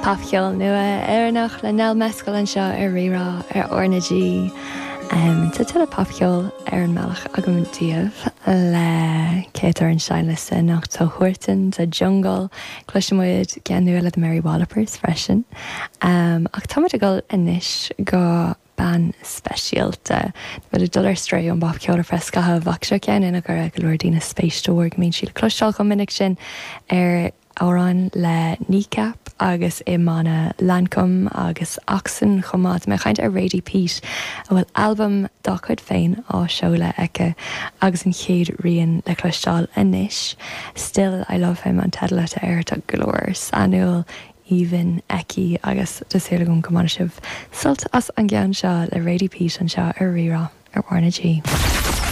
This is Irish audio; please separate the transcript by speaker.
Speaker 1: Popcheol nua Éireannach le Nell Mescal anseo ar Rí-Rá ar R na G. Tá tuilleadh popcheoil ar an mbealach agam daoibh le cé atá ar an seinnliosta anocht tá Huartan, tá Jungle, cloisfidh muid ceann nua le The Mary Wallopers freisin. Ach tá muid ag dul anois go bean speisialta. Tá muid ag dul ar strae ón bpopcheol ar feadh scaithimh ach seo ceann ina gcuirfeadh go leor daoine spéis de bharr go mbíonn sí le cloisteáil chomh minic sin ar amhráin le Kneecap agus i mbanna Lancôme agus Oxen chomh maith. Tá mé ag caint ar Radie Peat a bhfuil albam dá cuid féin á seoladh aici agus an chéad rian le cloisteáil anois. Still I Love Him an teideal atá air. Tá glór sainiúil aoibhinn aici agus tá súil agam go mbainfidh sibh sult as an gceann seo le Radie Peat anseo ar Rí-Rá ar R na G.